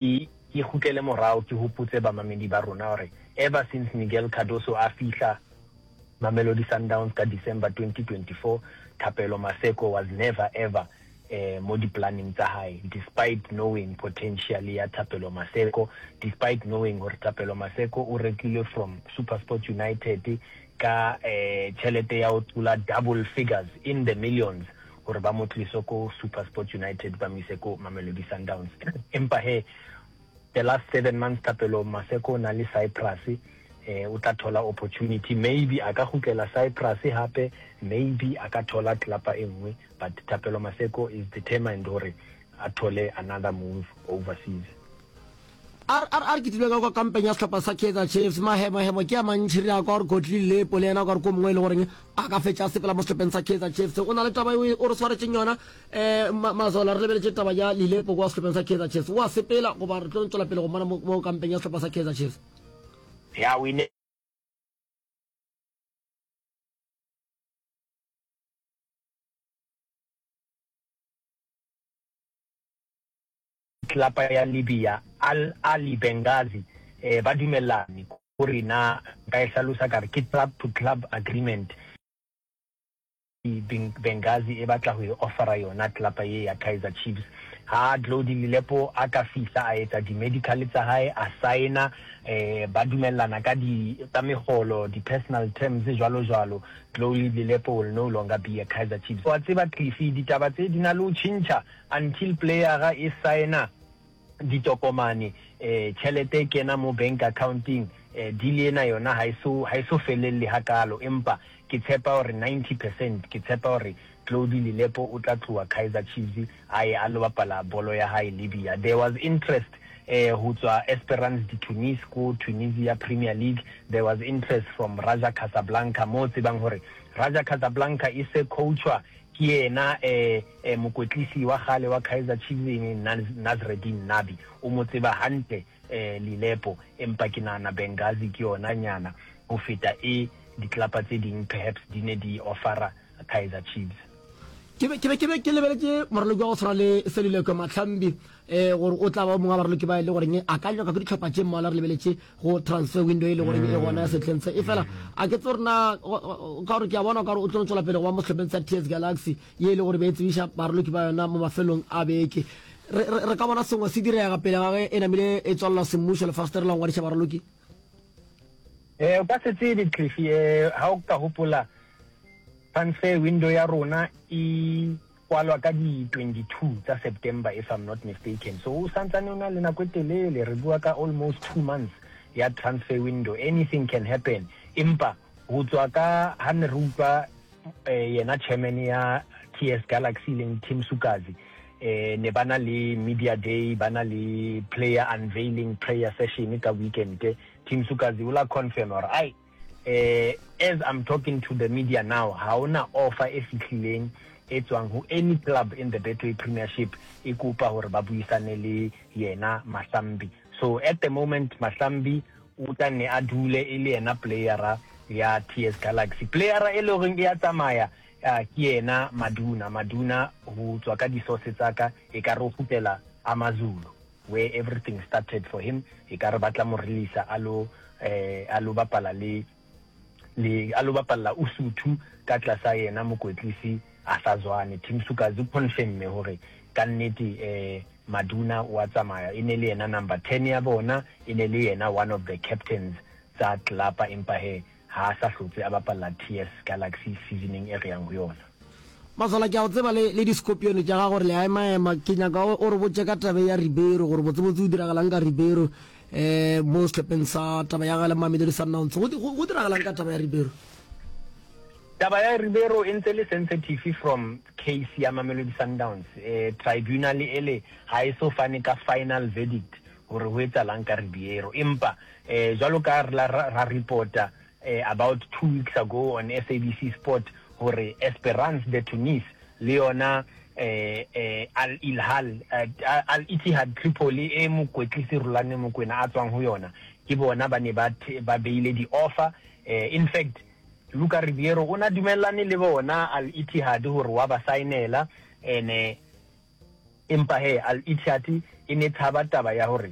Ke ke kgutlele morao ke hopotse bamamedi ba rona hore ever since Miguel Cardoso a fihla Mamelodi Sundowns ka December 2024, Thapelo Maseko was never ever mo di-planeng tsa hae despite knowing potential ya Thapelo Maseko, despite knowing hore Thapelo Maseko o rekilwe from SuperSport United ka tjhelete ya ho tlola double figures in the millions hore ba mo tlise ko SuperSport United ba mo ise ko Mamelodi Sundowns. Empa he the last 7 months Thapelo Maseko o na le Cyprus eh o tla thola opportunity maybe a ka kgutlela Cyprus hape maybe a ka thola club e nngwe but Thapelo Maseko is determined hore a thole another move overseas. A re a re ke tlile ka kwa kampeng ya sehlopha sa Kaizer Chiefs. Mahemohemo ke a mantši re a kwa gore Godly Lilepo le yena o ka re ko mongwe e le goreng a ka fetša a sepela mo sehlopheng sa Kaizer Chiefs. O na le taba eo o re swaretšeng yona um Mazola re lebeletše taba ya Lilepo kwa sehlopheng sa Kaizer Chiefs. O a sepela goba re tlo tšwela pele go mmona mo, mo kampeng ya sehlopha sa Kaizer Chiefs? Ya we ne Klapa ya Libya, Al Ahly Benghazi, ba dumellane gore na nka e hlalosa ka re ke club to club agreement. Benghazi e batla go e offera yona klapa ye ya Kaizer Chiefs. Ha Glody Lilepo a ka fihla a etsa di-medical tsa hae, a saena, ba dumellana ka di, ka megolo, di-personal terms jwalo jwalo, Glody Lilepo will no longer be a Kaizer Chiefs. Wa tseba Cliffy, ditaba tse di na le ho tjhentjha Until playera e saena ditokomane, tjhelete e kena mo bank account-eng, deal ena yona ha e so, ha e so felelle hakaalo. Empa ke tshepa hore 90 percent, ke tshepa hore Glody Lilepo o tla tloha Kaizer Chiefs a ye a lo bapala bolo ya hae Libya. There was interest ho tswa Esperance de Tunis ko Tunisia Premier League, there was interest from Raja Casablanca mo o tsebang hore Raja Casablanca e se coachwa Ke yena mokwetlisi wa kgale wa Kaizer Chiefs e leng Nasreddine Nabi. O mo tseba hantle Lilepo, empa ke nahana Benghazi ke yona nyana ho feta e diklapa tse ding perhaps di ne di offera Kaizer Chiefs. Ke be ke be ke be ke lebeletše moraloki wa go tshwana le Seluleko Mahlambi um gore o tla ba o mongwe wa baraloki ba e le goreng a ka nyaka ke dihlopha tše mmalwa re lebeletše go transfer window e le goreng e gona ya sehleng se e fela a ke tse gore na ka gore ke a bona ka gore o tlo tswela pele go ba mo sehlopheng sa TS Galaxy ye e le gore be e tsebiša baraloki ba yona mo mafelong a beke re ka bona sengwe se direga pele ga ge e namile e tswalelwa semmušo lefastere la go ngwadiša baraloki Eh o ka se tsebe Cliffy eh ha o ka hopola transfer window ya rona e kwalwa ka di 22 tsa September if I'm not mistaken. So o santsane o na le nako e telele, re bua ka almost 2 months ya transfer window. Anything can happen. Empa ho tswa ka ha ne re utlwa eh, yena chairman ya TS Galaxy leng Tim Sukazi eh ne ba na le media day ba na le player unveiling prayer session ka weekend Tim Sukazi o la confirm hore ai Eh, as I'm talking to the media now, ha hona offer e fihlileng e tswang ho any club in the Betway Premiership e kopa hore ba buisane le yena Mahlambi. So at the moment Mahlambi o tla nne a dule e le yena playera ya TS Galaxy. Playera e le horeng e ya tsamaya ke yena Maduna. Maduna ho tswa ka di-source tsa ka e ka re o kgutlela AmaZulu. Where everything started for him ekare ba tla mo releasa a lo eh a lo bapala le le a lo bapalla Usuthu ka tlasa yena mokwetlisi Arthur Zwane. Tim Sukazi o confirmme hore ka nnete eh Maduna o a tsamaya e ne le yena number 10 ya bona e ne le yena one of the captains tsa tlelapa empa he Ha a sa hlotse a bapalla TS Galaxy seasoneng e re yang ho yona. Mazola, ke a go tseba le, le di-scorpion tša gago gore le a emaema. Ke nyaka o, o re botše ka taba ya Ribeiro, gore botsebotse o diragalang ka Ribeiro um mo sehlopheng sa taba ya gagwe le Mamelodi Sundowns. Go, go, go diragalang ka taba ya Ribeiro? Taba ya Ribeiro e ntse le sensitive from case ya Mamelodi Sundowns. Eh, tribunal ele ha e so fane ka final verdict hore ho etsahalang ka Ribeiro. Empa eh, jwalo ka re la ra reporta eh, about two weeks ago on SABC Sport hore Esperance de Tunis le yona eh, eh, Al Ilhal eh, Al Ittihad Tripoli e mokwetlisi Rulani Mokwena a tswang ho yona ke bona ba ne ba ba beile di-offer eh, in fact Luka Ribeiro o na dumellane le bona Al Ittihad hore wa ba saenela ene. Empa hee Al Ittihad e ne tshaba taba ya hore.